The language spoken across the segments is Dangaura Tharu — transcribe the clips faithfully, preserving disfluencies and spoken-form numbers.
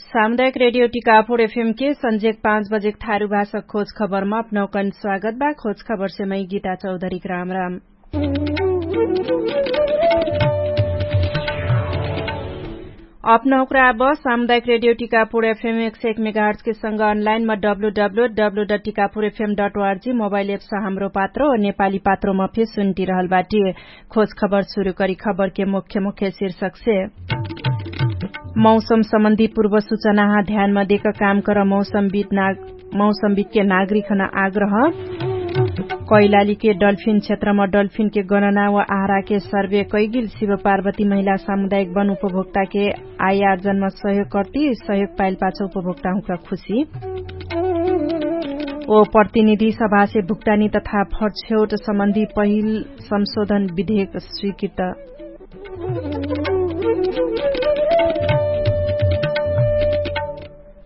सामुदायिक रेडियो टिकापुर एफएम के सन्जेक पाँच बजेक थारु भाषा खोज खबरमा अपनौकन स्वागत बा। खोज खबरसे मै गीता चौधरीक राम राम। अपनौकरा अब सामुदायिक रेडियो टिकापुर एफएम एक सय एक मेगाहर्चके संग अनलाइनमा W W W dot Tikapur FM dot ORG mobile apps Hamro Patro नेपाली पात्रोमा फे सुन्टिरहल बाटी। खोज खबर सुरु करी खबरके मुख्य मुख्य शीर्षकसे मौसम सम्बन्धी पूर्व सुचनाहा ध्यानमा देक काम कर मौसमविदके नागरिकहन आग्रह। कैलालीके डल्फिन क्षेत्रमा डल्फिनके गणना व आहाराके सर्वे कैगिल शिव पार्वती महिला सामुदायिक वन उपभोक्ताके आयार्जनमा सहयोग कर्ती सहयोग पाइल पाछ उपभोक्ताहुँका खुशी। ओ प्रतिनिधि सभासे भुक्तानी तथा फर्छेउट सम्बन्धी पहिल संशोधन विधेयक स्वीकृत।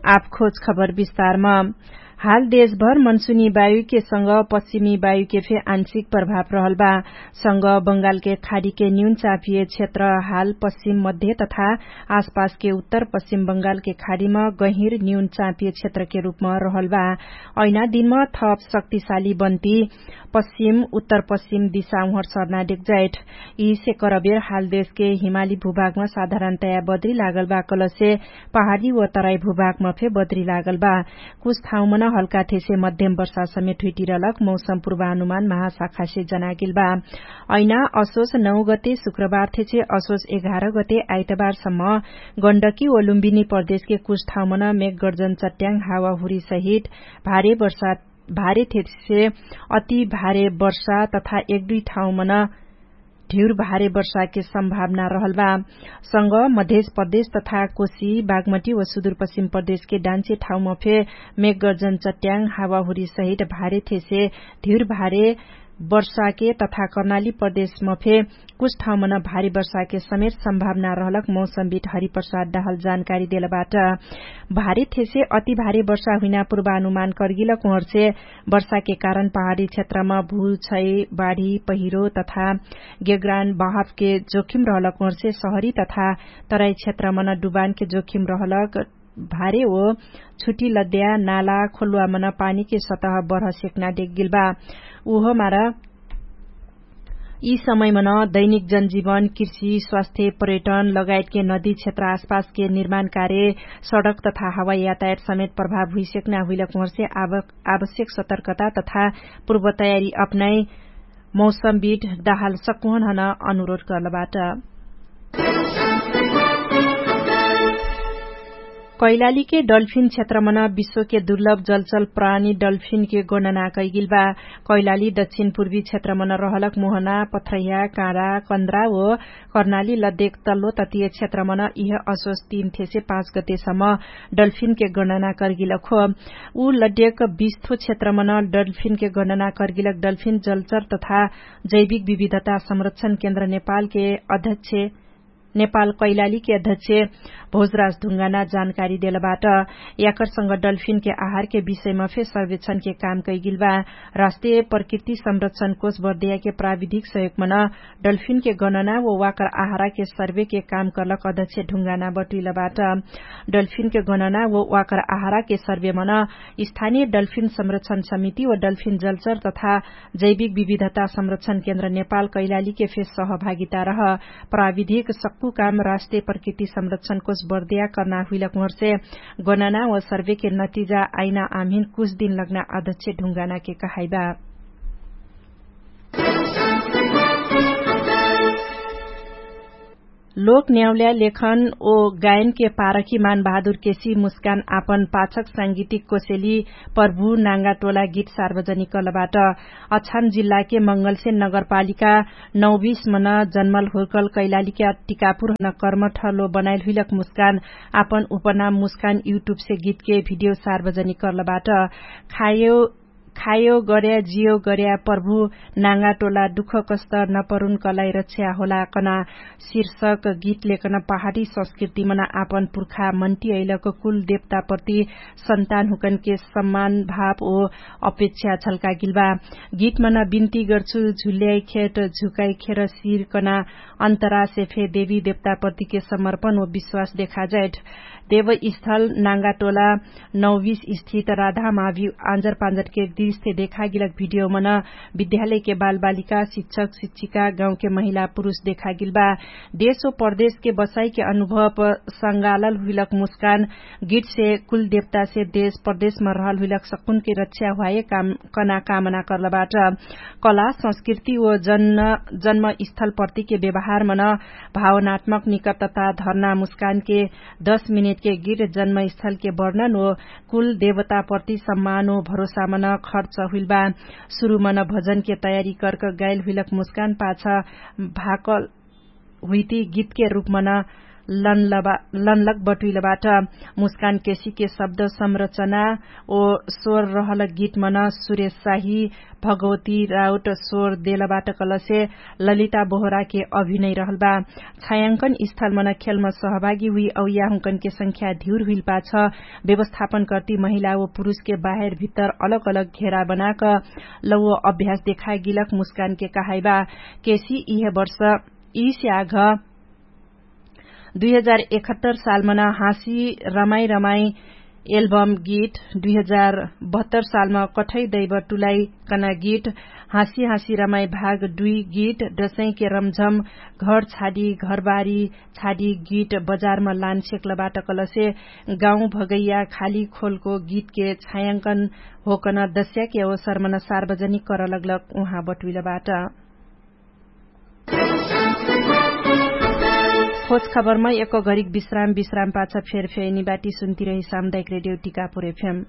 आप खोज खबर विस्तारमा। हाल देशभर मनसुनी वायुके संग पश्चिमी वायुके फे आंशिक प्रभाव रहल बा। संग बंगालके खाडीके न्यून चापिय क्षेत्र हाल पश्चिम मध्य तथा आसपासके उत्तर पश्चिम बंगालके खाडीमा गहिर न्यून चापिय क्षेत्रके रूपमा रहल बा। ऐना दिनमा थप शक्तिशाली बन्ती पश्चिम उत्तर पश्चिम दिशा उहर सर्ना डेक्जाइट। यिसे करबेर हाल देशके हिमाली भूभागमा साधारणतया बद्री लागल बा कलसे पहाडी व तराई भूभागमा फे बद्री लागल बा। कुछ ठाउँमन हल्का थेसे मध्यम वर्षा समेट हुइटिरलक मौसम पूर्वानुमान महाशाखासे जनागेल बा। ऐना असोस नौ गते शुक्रबार थेसे असोस एघार गते आइतबारसम्म गण्डकी व लुम्बिनी प्रदेशके कुछ ठाउँमन मेघगर्जन चट्याङ हावाहुरी सहित भारे वर्षा भारे थेसे अति भारे वर्षा तथा एक दुई ठाउँमन ढिउर भारे वर्षाके सम्भावना रहल बा। संग मधेश प्रदेश तथा कोशी बागमटी व सुदूरपश्चिम प्रदेशके डान्चे ठाउँमा फे मेघगर्जन चट्याङ हावाहुरी सहित भारे थेसे धिउर भारे वर्षाके तथा कर्णाली प्रदेशमा फे कुछ ठाउँमन भारी वर्षाके समेत सम्भावना रहलक मौसमविट हरिप्रसाद डाहल जानकारी देलबाट। भारी थेसे अति भारी वर्षा हुइना पूर्वानुमान कर्गिलक उहर्से वर्षाके कारण पहाडी क्षेत्रमा भूछै बाढी पहिरो तथा गेग्रान बहावके जोखिम रहलक उहर्से सहरी तथा तराई क्षेत्रमन डुबानके जोखिम रहलक भारे ओ छुटी लद्या नाला खोल्वामन पानीके सतह बढ सेक्ना डेग्गिल बा। उहो मार यि समयमन दैनिक जनजीवन कृषि स्वास्थ्य पर्यटन लगायतके नदी क्षेत्र आसपासके निर्माण कार्य सडक तथा हवाई यातायात समेत प्रभाव हुइसेक्ना हुइलक उहर्से आवश्यक सतर्कता तथा पूर्व तयारी अपनाइ मौसमविट दाहाल सकुहनहन अनुरोध कर्लबाट। कैलालीके डल्फिन क्षेत्रमन विश्वके दुर्लभ जलचल प्राणी डल्फिनके गणना कैगिल बा। कैलाली दक्षिण पूर्वी क्षेत्रमन रहलक मोहना पथ्रैया काँडा कन्द्रा ओ कर्णाली लद्यक तल्लो ततिय क्षेत्रमन इह असोस तीन थेसे पाँच गतेसम्म डल्फिनके गणना कर्गिलक हो। उ लद्यक बिस्थो क्षेत्रमन डल्फिनके गणना कर्गिलक डल्फिन जलचर तथा जैविक विविधता संरक्षण केन्द्र नेपालके अध्यक्ष नेपाल कैलालीके अध्यक्ष भोजराज ढुङ्गाना जानकारी देलबाट। याकरसँग डल्फिनके आहारके विषयमा फे सर्वेक्षणके काम कैगिल बा। राष्ट्रिय प्रकृति संरक्षण कोष बर्दियाके प्राविधिक सहयोगमन डल्फिनके गणना व वाकर आहाराके सर्वेके काम कर्लक अध्यक्ष ढुङ्गाना बटुइलबाट। डल्फिनके गणना व वाकर आहाराके सर्वेमन स्थानिय डल्फिन संरक्षण समिति व डल्फिन जलचर तथा जैविक विविधता संरक्षण केन्द्र नेपाल कैलालीके फे सहभागिता रह। प्राविधिक सक्कु काम राष्ट्रिय प्रकृति संरक्षण कोष बर्दिया कर्ना हुइलक उहर्से गणना व सर्वेके नतिजा आइना आम्हिन कुछ दिन लग्ना अध्यक्ष ढुङ्गानाके कहाइबा। लोक न्याउल्या लेखन ओ गायनके पारखी मानबहादुर केसी मुस्कान आपन पाछक सांगीतिक कोसेली प्रभु नाङ्गा टोला गीत सार्वजनिक कलबाट। अछाम जिल्लाके मंगलसे नगरपालिका नौबिस मन जन्मल हुर्कल कैलालीके टिकापुर हन कर्मठलो बनाइल हुइलक मुस्कान आपन उपनाम मुस्कान युट्युबसे गीतके भिडियो सार्वजनिक कलबाट। खायो खायो गर्‍या जियो गर्‍या प्रभु नाङ्गा टोला दुःख कष्ट नपरुन कलाई रक्षा होला कना शीर्षक गीत लेकन पहाडी संस्कृतिमन आपन पुर्खा मन्टी अइलक कुल देवताप्रति सन्तान हुकनके सम्मान भाव ओ अपेक्षा छल्कागिल बा। गीतमन बिन्ती गर्छु झुल्याइ खेट झुकाइ खेर शिर कना अन्तरासे फे देवी देवताप्रतिके समर्पण ओ विश्वास देखाजाइट। देवस्थल नाङ्गा टोला नौबिस स्थित राधा मावि आँजर पाँजरके दृष्ट देखागिलक भिडियोमन विद्यालयके बालबालिका शिक्षक शिक्षिका गाउँके महिला पुरुष देखागिल बा। देश ओ प्रदेशके बसाइके अनुभव संगालल हुइलक मुस्कान गीतसे कुल देवतासे देश प्रदेशम रहल हुइलक सकुनके रक्षा हुवाए कना कामना कर्लबाट। कला संस्कृति ओ जन्म स्थलप्रतिके व्यवहारमन भावनात्मक निकटता धर्ना मुस्कानके दश मिनेटके गीत जन्मस्थलके वर्णन ओ कुल देवताप्रति सम्मान ओ भरोसामन खर्च हुइलबा। सुरुमन भजनके तयारी कर्क गाइल हुइलक मुस्कान पाछ भाकल हुइती गीतके रूपमन लनलक बटुइलबाट। मुस्कान केसीके शब्द संरचना ओ स्वर रहल गीतमन सुरेश शाही भगवती राउट स्वर देलबाट कलसे ललिता बोहराके अभिनय रहलबा। छायांकन स्थलमन खेलम सहभागी हुइ औ याहुँकनके संख्या धिउर हुइलपाछ व्यवस्थापन कर्ति महिला ओ पुरुषके बाहेर भित्तर अलग अलग घेरा बनाक लौव अभ्यास देखागिलक मुस्कानके कहाइबा। केसी इहे वर्ष यि स्याघ दुई हजार एकहत्तर सालमन हाँसी रमाई रमाई एल्बम गीत, दुई हजार बहत्तर सालम कठै दैव टुलाइकन गीत, हाँसी हाँसी रमाई भाग दुई गीत, दसैँके रमझम, घर छाडी घरबारी छाडी गीत बजारम लान सेक्लबाट कलसे गाउँ भगैया खाली खोलको गीतके छायांकन होकन दस्याके अवसरमन सार्वजनिक करलगलक उहाँ बटुइलबाट। खोज खबरमा एक घरिक विश्राम विश्राम पाछ फेर फेर निबाटी सुन्तिरही सामुदायिक रेडियो टिकापुर एफएम।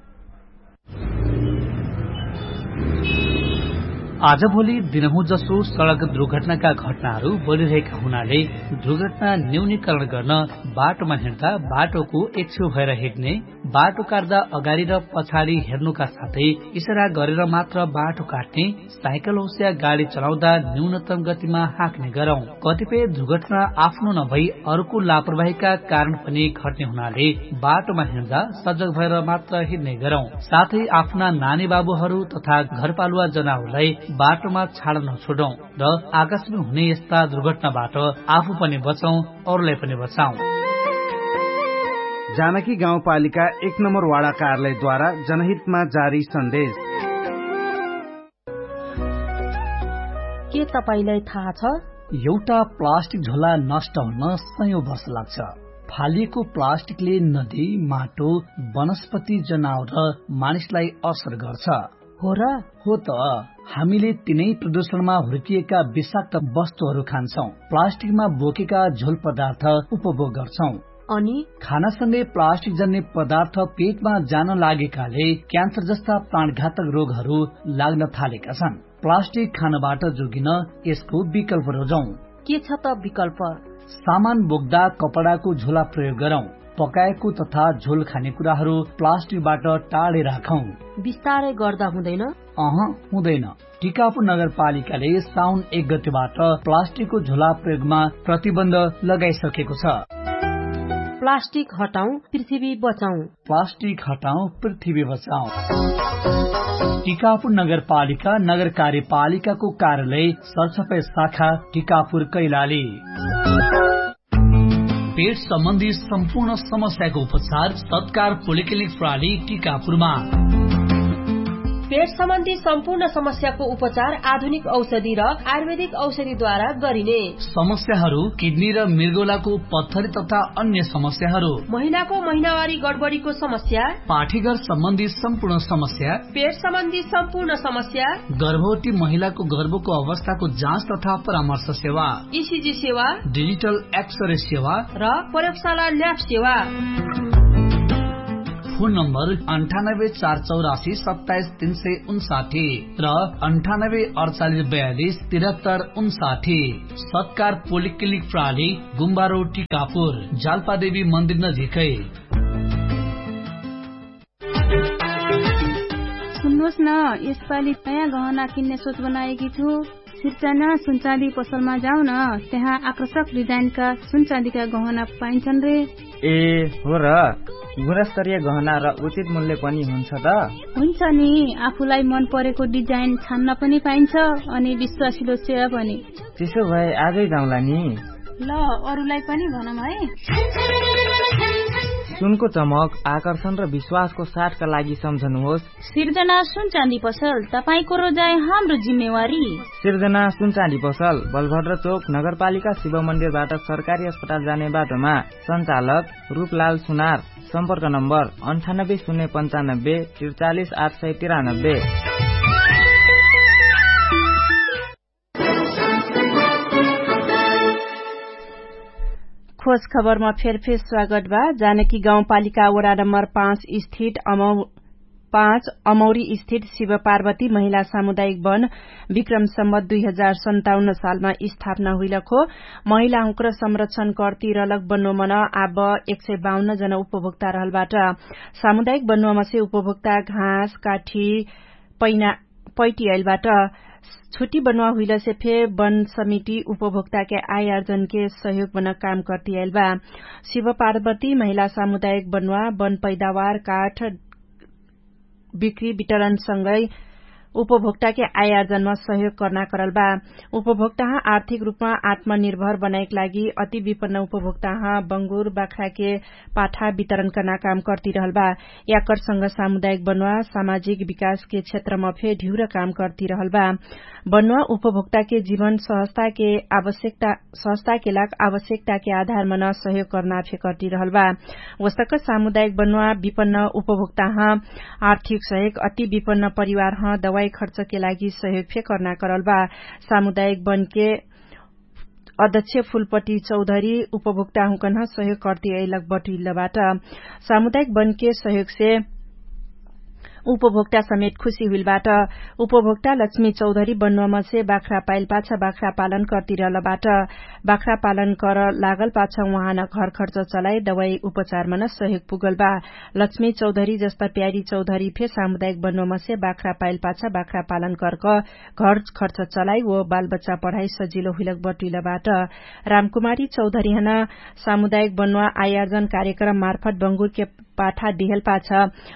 आजभोलि दिनहुँ जसो सडक दुर्घटनाका घटनाहरू बढिरहेका हुनाले दुर्घटना न्यूनीकरण गर्न बाटोमा हिँड्दा बाटोको एक्छेउ भएर हिँड्ने, बाटो काट्दा अगाडि र पछाडि हेर्नुका साथै इसारा गरेर मात्र बाटो काट्ने, साइकल होस्या गाडी चलाउँदा न्यूनतम गतिमा हाँक्ने गरौँ। कतिपय दुर्घटना आफ्नो नभई अरूको लापरवाहीका कारण पनि घट्ने हुनाले बाटोमा हिँड्दा सजग भएर मात्र हिँड्ने गरौँ। साथै आफ्ना नानी बाबुहरू तथा घरपालुवा जनावरलाई बाटोमा छाडा नछोडौँ र आकाशमा हुने यस्ता दुर्घटनाबाट आफू पनि बचौँ, अरूलाई पनि बचाउँ। जानकी गाउँपालिका एक नम्बर वाडा कार्यालयद्वारा जनहितमा जारी सन्देश। के तपाईंलाई थाहा छ? एउटा प्लास्टिक झोला नष्ट हुन सयौं वर्ष लाग्छ। फालिएको प्लास्टिकले नदी, माटो, वनस्पति, जनावर र मानिसलाई असर गर्छ। हो र? हो त। हामीले तिनै प्रदूषणमा हुर्किएका विषाक्त वस्तुहरू खान्छौं, प्लास्टिकमा बोकेका झोल पदार्थ उपभोग गर्छौं। अनि खानासँगै प्लास्टिक जन्ने पदार्थ पेटमा जान लागेकाले क्यान्सर जस्ता प्राणघातक रोगहरू लाग्न थालेका छन्। प्लास्टिक खानबाट जोगिन यसको विकल्प रोजौं। के छ त विकल्प? सामान बोक्दा कपडाको झोला प्रयोग गरौं। पकाएको तथा झोल खाने कुराहरू प्लास्टिकबाट टाढे राखौं। बिस्तारै गर्दा हुँदैन? अह, हुँदैन। टिकापुर नगरपालिकाले साउन एक गतेबाट प्लास्टिकको झोला प्रयोगमा प्रतिबन्ध लगाइसकेको छ। प्लास्टिक हटाउँ, पृथ्वी बचाउँ। प्लास्टिक हटाउँ, पृथ्वी बचाउँ। टिकापुर नगरपालिका नगर कार्यपालिकाको कार्यालय सरसफाइ शाखा टिकापुर कैलाली। पेट सम्बन्धी सम्पूर्ण समस्याको उपचार सत्कार पोलिक्लिनिक प्रणाली टिकापुरमा। पेट सम्बन्धी सम्पूर्ण समस्याको उपचार आधुनिक औषधि र आयुर्वेदिक औषधिद्वारा गरिने। समस्याहरू किडनी र मृगौलाको पत्थरी तथा अन्य समस्याहरू। महिनाको महिनावारी गडबडीको समस्या। पाठीघर सम्बन्धी सम्पूर्ण समस्या। पेट सम्बन्धी सम्पूर्ण समस्या। गर्भवती महिलाको गर्भको अवस्थाको जाँच तथा परामर्श सेवा। इसिजी सेवा। डिजिटल एक्सरे सेवा। र प्रयोगशाला ल्याब सेवा। फोन नम्बर अन्ठानब्बे चार चौरासी सत्ताइस तीन सय उन्साठी र अन्ठानब्बे अडचालिस बयालिस तिरहत्तर उन्साठी। सत्कार पोलिक्लिनिक प्रणाली गुम्बारो टिकापुर जालपादेवी मन्दिर नजिकै। होस् न, यसपालि नयाँ गहना किन्ने सोच बनाएकी छु। सिर्जना सुनचाँदी पसलमा जाउन, त्यहाँ आकर्षक डिजाइनका सुनचाँदीका गहना पाइन्छन् रे। ए, हो र? गुणस्तरीय गहना र उचित मूल्य पनि हुन्छ त? हुन्छ नि। आफूलाई मन परेको डिजाइन छान्न पनि पाइन्छ, अनि विश्वासिलो सेवा पनि। त्यसो भए आजै जाउँला नि। ल, अरूलाई पनि भनौँ है। सुनको चमक, आकर्षण र विश्वासको साथका लागि सम्झनुहोस्। सिर्जना सुनचाँदी पसल, तपाईंको रोजाइ हाम्रो जिम्मेवारी। सिर्जना सुनचाँदी पसल, बलभद्र चोक, नगरपालिका शिव मन्दिरबाट सरकारी अस्पताल जाने बाटोमा। सञ्चालक रूपलाल सुनार। सम्पर्क नम्बर अन्ठानब्बे शून्य पन्चानब्बे त्रिचालिस आठ सय तिरानब्बे। खोज खबरमा फेरफेर स्वागत बा। जानकी गाउँपालिका वडा नम्बर पाँच स्थित अमौ पाँच अमौरी स्थित शिव पार्वती महिला सामुदायिक वन विक्रम सम्बत दुई हजार सन्ताउन्न सालमा स्थापना हुइलक हो। महिलाहुँक्र संरक्षण कर्ती रलक बन्नोमन आब एक सय बाउन्न जना उपभोक्ता रहलबाट। सामुदायिक बन्नोमसे उपभोक्ता घाँस काठी पैना पैटी आइलबाट। छुट्टी बन्वा हुइलसे फे वन समिति उपभोक्ताके आयार्जनके सहयोग बन काम कर्ती आइलबा। शिव पार्वती महिला सामुदायिक बन्वा वन पैदावार काठ बिक्री वितरणसँगै उपभोक्ताके आयार्जनमा सहयोग कर्ना करलबा। उपभोक्ताह आर्थिक रूपमा आत्मनिर्भर बनाएक लागि अति विपन्न उपभोक्ताह बङ्गुर बाख्राके पाठा वितरण कर्ना काम कर्ती रहलबा। याकरसँग सामुदायिक बन्वा सामाजिक विकासके क्षेत्रमा फे ढिउर काम कर्ती रहलबा। बन्वा उपभोक्ताके जीवन सहजताके आवश्यकता सहजताके लाग आवश्यकताके आधारमन सहयोग कर्ना फे कर्ती रहलबा। वस्तक सामुदायिक बन्वा विपन्न उपभोक्ताह आर्थिक सहयोग अति विपन्न परिवारह दवाई खर्चके लागि सहयोग फे कर्ना करलबा। सामुदायिक बनके अध्यक्ष फुलपटी चौधरी उपभोक्ताहुँकन्ह सहयोग कर्ती अइलक बटुइलबाट। सामुदायिक बनके सहयोगसे उपभोक्ता समेत खुशी हुइलबाट। उपभोक्ता लक्ष्मी चौधरी बन्वामसे बाख्रा पाइलपाछ बाख्रा पालन कर्ती रहलबाट। बाख्रा पालन कर लागलपाछ उहाँन घर खर्च चलाइ दवाई उपचारमन सहयोग पुगलबा। लक्ष्मी चौधरी जस्ता प्यारी चौधरी फे सामुदायिक बन्वामसे बाख्रा पाइलपाछ बाख्रा पालन कर्क घर खर्च चलाइ वो बालबच्चा पढाइ सजिलो हुइलक बटुइलबाट। रामकुमारी चौधरीहन सामुदायिक बन्वा आयार्जन कार्यक्रम मार्फत बङ्गुरके पाठा दिहलपाछ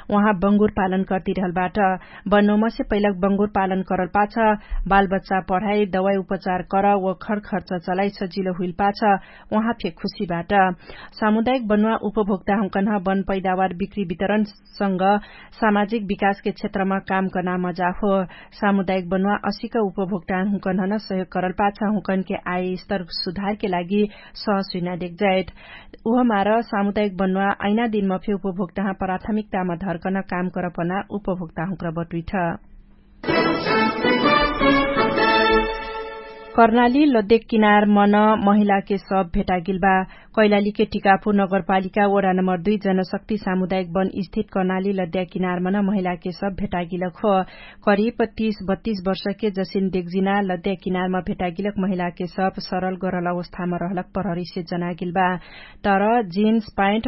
उहाँ बङ्गुर पालन कर्ती रहलबाट। बन्वामसे पैलक बङ्गुर पालन करलपाछ बालबच्चा पढाइ दवाई उपचार कर वो घर खर्च चलाइ सजिलो हुइलपाछ उहाँ फे खुशीबाट। सामुदायिक बन्वा उपभोक्ताहुँकन्ह वन पैदावार बिक्री वितरणसँग सामाजिक विकासके क्षेत्रमा काम कर्ना मजा हो। सामुदायिक बन्वा असिक उपभोक्ताहुँकन्हन सहयोग करलपाछ हुँकनके आय स्तर सुधारके लागि सहसुइना देख्जाइत। उहमार सामुदायिक बन्वा ऐना दिनमा फे उपभोक्ताह प्राथमिकतामा धर्कन काम करपना उपभोक्ताहुँक्र बटुइठ। कर्णाली लद्देक किनार मन महिलाके सब भेटागिल बा। कैलालीके टिकापुर नगरपालिका वडा नम्बर दुई जनशक्ति सामुदायिक वन स्थित कर्णाली लद्या किनार मन महिलाके सब भेटागिलक हो। करिब तीस बत्तीस वर्षके जसिन देगजिना लद्या किनारमा भेटागिलक महिलाके सब सरल गरल अवस्थामा रहलक प्रहरीसे जनागिल बा। तर जिन्स पाइन्ट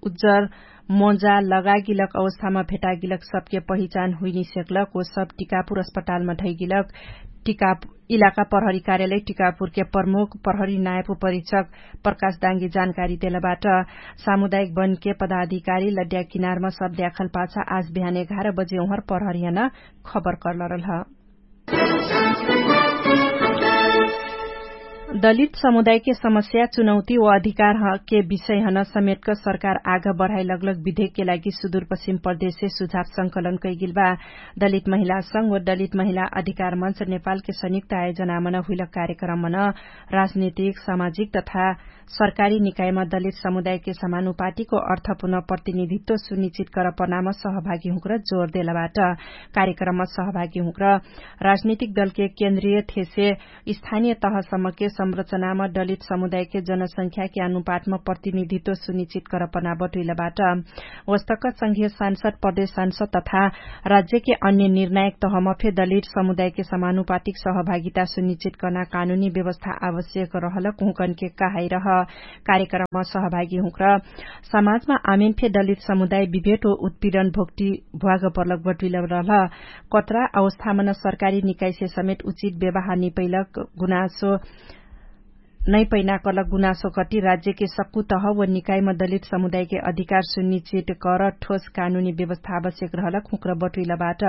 उज्जर मोजा लगागिलक अवस्थामा भेटागिलक सबके पहिचान हुइनिसेक्लक ओ सब टिकापुर अस्पतालमा ढैगिलक। टिकाप इलाका प्रहरी कार्यालय टिकापुरके प्रमुख प्रहरी नायपु परीक्षक प्रकाश दाङ्गी जानकारी देलबाट। सामुदायिक वनके पदाधिकारी लड्या किनारमा सब द्याखल पाछा आज बिहान एघार बजे उहर प्रहरीहन खबर कर्लरल ह। दलित समुदायके समस्या चुनौती व अधिकारके विषयहन समेटक सरकार आग बढाइ लगलग विधेकके लागि सुदुरपश्चिम प्रदेशसे सुझाव संकलन कैगिल बा। दलित महिला संग व दलित महिला अधिकार मन्च नेपालके संयुक्त आयोजनामन हुइलक कार्यक्रममन राजनीतिक सामाजिक तथा सरकारी निकायमा दलित समुदायके समानुपातिको अर्थपुर्ण प्रतिनिधित्व सुनिश्चित करपनाम सहभागीहुँक्र जोर देलबाट। कार्यक्रमम सहभागीहुँक्र राजनीतिक दलके केन्द्रीय थेसे स्थानीय तहसम्मके संरचनाम दलित समुदायके जनसंख्याके अनुपातम प्रतिनिधित्व सुनिश्चित करपना बटुइलबाट। वस्तक संघीय सांसद प्रदेश सांसद तथा राज्यके अन्य निर्णायक तहम फे दलित समुदायके समानुपातिक सहभागिता सुनिश्चित कर्ना कानुनी व्यवस्था आवश्यक रहलक हुँकनके कहाइ रह। कार्यक्रममा सहभागी हुँक्र समाजमा आमिन फे दलित समुदाय विभेट हो उत्पीडन भोक्टी भ्वाग पर्लक बटुइल रहल। कत्रा अवस्थामन सरकारी निकाइसे समेत उचित व्यवहार निपैलक गुनासो नैपैना कलक गुनासो कटी राज्यके सक्कु तह व निकाइम दलित समुदायके अधिकार सुनिश्चित कर ठोस कानुनी व्यवस्था आवश्यक रहलक हुँक्र बटुइलबाट।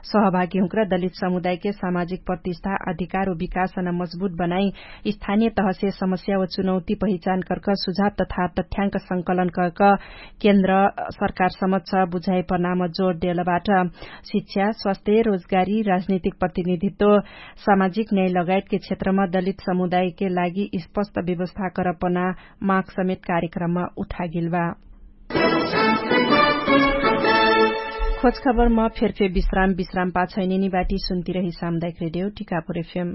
सहभागी हुँक्र दलित समुदायके सामाजिक प्रतिष्ठा अधिकार व विकासन मजबुत बनाइ स्थानिय तहसे समस्या व चुनौती पहिचान कर्क सुझाव तथा तथ्याङ्क संकलन कर्क केन्द्र सरकार समक्ष बुझाइ प्रणाम जोर देलबाट। शिक्षा स्वास्थ्य रोजगारी राजनीतिक प्रतिनिधित्व सामाजिक न्याय लगायतके क्षेत्रमा दलित समुदायके लागि स्पष्ट व्यवस्था करपना माग समेत कार्यक्रममा उठागेल बा। खोजखबरमा फेरफेर विश्राम विश्राम पाछैनेनी बाटी सुन्तिरही सामुदायिक रेडियो टिकापुर एफएम।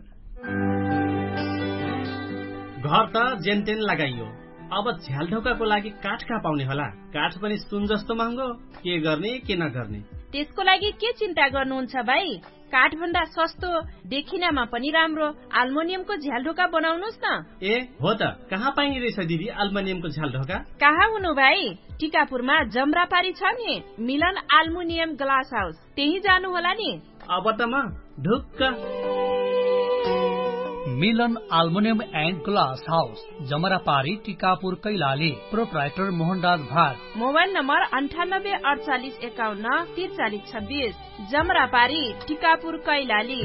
घर त जेनतेन लगाइयो, अब झ्यालढोकाको लागि काठ कहाँ पाउने होला? काठ पनि सुन जस्तो महँगो। के गर्ने के नगर्ने? त्यसको लागि के चिन्ता गर्नुहुन्छ भाइ? काठभन्दा सस्तो, देखिनामा पनि राम्रो आल्मोनियमको झ्यालढोका बनाउनुस् न। ए हो त, कहाँ पाइने रहेछ दिदी आल्मोनियमको झ्यालढोका? कहाँ हुनु भाइ? टिकापुरमा जमरापारी छ नि, मिलन आल्मुनियम ग्लास हाउस, त्यही जानु होला नि। अब त म ढुक्क। मिलन आल्मुनियम एन्ड ग्लास हाउस, जमरापारी टिकापुर कैलाली। प्रोप्राइटर मोहनराज भाग। मोबाइल नम्बर अन्ठानब्बे अडचालिस एकाउन्न तिरचालिस छब्बिस। जमरापारी टिकापुर कैलाली।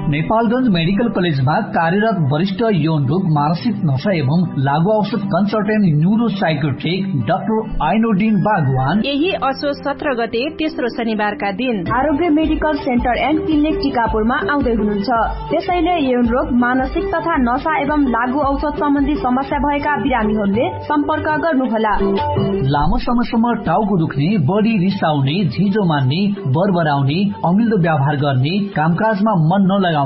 नेपालगंज मेडिकल कलेजमा कार्यरत वरिष्ठ यौन रोग मानसिक नशा एवं लागू औषध कन्सल्टेन्ट न्युरोसाइकोट्रिक डाक्टर आइनोडिन बागवान यही असो सत्र गते तेस्रो शनिबारका दिन आरोग्य मेडिकल सेन्टर एन्ड क्लिनिक टिकापुरमा आउँदै हुनुहुन्छ। त्यसैले यौन रोग मानसिक तथा नशा एवं लागू औषध सम्बन्धी समस्या भएका बिरामीहरूले सम्पर्क गर्नुहोला। लामो समयसम्म टाउको दुख्ने, बढी रिसाउने, झिजो मान्ने, बरबराउने, अमिल्दो व्यवहार गर्ने, कामकाजमा मन नलगाउने,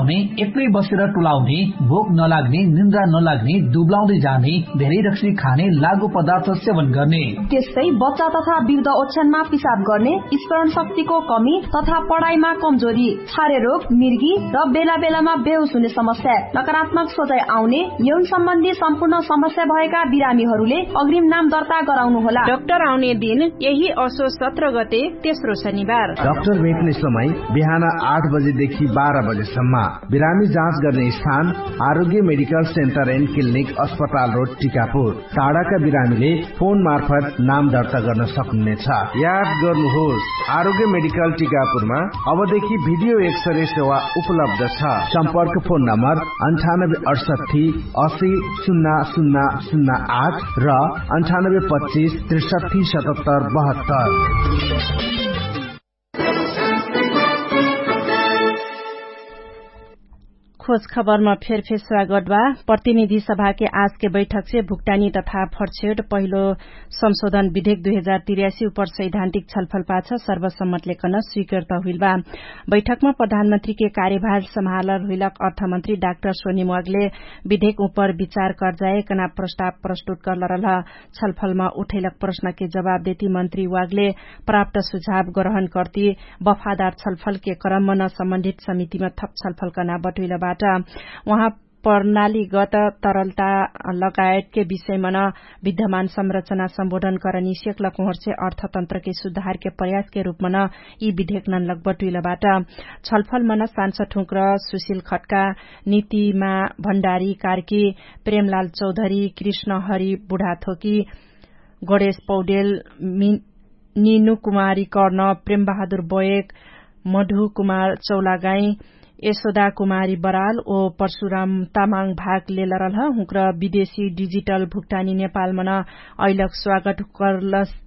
एक्लै बसेर टुलाउने, भोक नलाग्ने, निन्द्रा नलाग्ने, दुब्लाउँदै जाने, धेरै रक्सी खाने, लागु पदार्थ सेवन गर्ने, त्यस्तै बच्चा तथा वृद्ध ओछ्यानमा पिसाब गर्ने, स्मरण शक्तिको कमी तथा पढाइमा कमजोरी, छारे रोग, मिर्गी र बेला बेलामा बेहोस हुने समस्या, नकारात्मक सोचाइ आउने, यौन सम्बन्धी सम्पूर्ण समस्या भएका बिरामीहरूले अग्रिम नाम दर्ता गराउनु होला। डाक्टर आउने दिन यही असो सत्र गते तेस्रो शनिबार। डाक्टर भेट्ने समय बिहान आठ बजेदेखि बाह्र बजेसम्म। बिरामी जाँच गर्ने स्थान आरोग्य मेडिकल सेन्टर एन्ड क्लिनिक, अस्पताल रोड, टिकापुर। टाढाका बिरामीले फोन मार्फत नाम दर्ता गर्न सक्नुहुनेछ। याद गर्नुहोस्, आरोग्य मेडिकल टिकापुरमा अबदेखि भिडियो एक्सरे सेवा उपलब्ध छ। सम्पर्क फोन नम्बर अन्ठानब्बे अठसट्ठी असी सुन्ना सुन्ना सुन्ना आठ र अन्ठानब्बे पच्चिस त्रिसट्ठी सतहत्तर बहत्तर। खोज खबरमा फेरफेर स्वागत बा। प्रतिनिधि सभाके आजके बैठकसे भुक्तानी तथा फर्छेट पहिलो संशोधन विधेक दुई हजार तिर्यासी उपर सैद्धान्तिक छलफल पाछ सर्वसम्मतले कन स्वीकृत हुइल बा। बैठकमा प्रधानमन्त्रीके कार्यभार सम्हालर हुइलक अर्थमन्त्री डाक्टर सोनिम वागले विधेक उपर विचार कर्जाए कना प्रस्ताव प्रस्तुत कर्लरल। छलफलमा उठैलक प्रश्नके जवाब देती मन्त्री वागले प्राप्त सुझाव ग्रहण कर्ती बफादार छलफलके क्रममा न सम्बन्धित समितिमा थप छलफल कर्ना बटुइलबाट। उहाँ प्रणालीगत तरलता लगायतके विषयमा न विद्यमान संरचना सम्बोधन करनी सेक्लक उहर्से अर्थतन्त्रके सुधारके प्रयासके रूपमा न यी विधेक नन्लक बटुइलबाट। छलफलमा न सांसद हुँक्र सुशिल खट्का नीतिमा भण्डारी कार्की प्रेमलाल चौधरी कृष्ण हरि बुढाथोकी गणेश पौडेल निनु कुमारी कर्ण प्रेमबहादुर बयक मधु कुमार चौलागाई यशोदा कुमारी बराल ओ परशुराम तामाङ भाग लेलरलह। हुँक्र विदेशी डिजिटल भुक्तानी नेपालमन अइलक स्वागत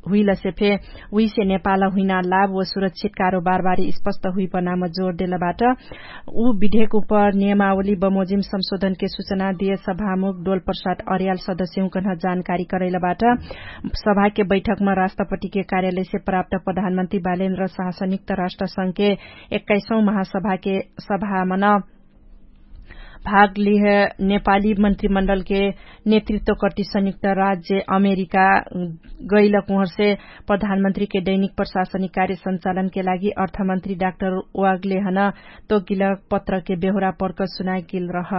हुइलसे फे उइसे नेपाल हुइना लाभ ओ सुरक्षित कारोबारबारी स्पष्ट हुइपनाम जोर देलबाट। उ विधेक उपर नियमावली बमोजिम संशोधनके सुचना दिए सभामुख डोलप्रसाद अर्याल सदस्यहुँकन्ह जानकारी करैलबाट। सभाके बैठकमा राष्ट्रपतिके कार्यालयसे प्राप्त प्रधानमन्त्री बालेन्द्र शाह संयुक्त राष्ट्रसंघके एक्काइसौँ महासभाके सभामन भाग लिह नेपाली मन्त्रीमण्डलके नेतृत्व कर्ति संयुक्त राज्य अमेरिका गैलक उहर्से प्रधानमन्त्रीके दैनिक प्रशासनिक कार्य सञ्चालनके लागि अर्थमन्त्री डाक्टर वागलेहन तोगिलक पत्रके बेहुरा पर्क सुनाइगेल रह।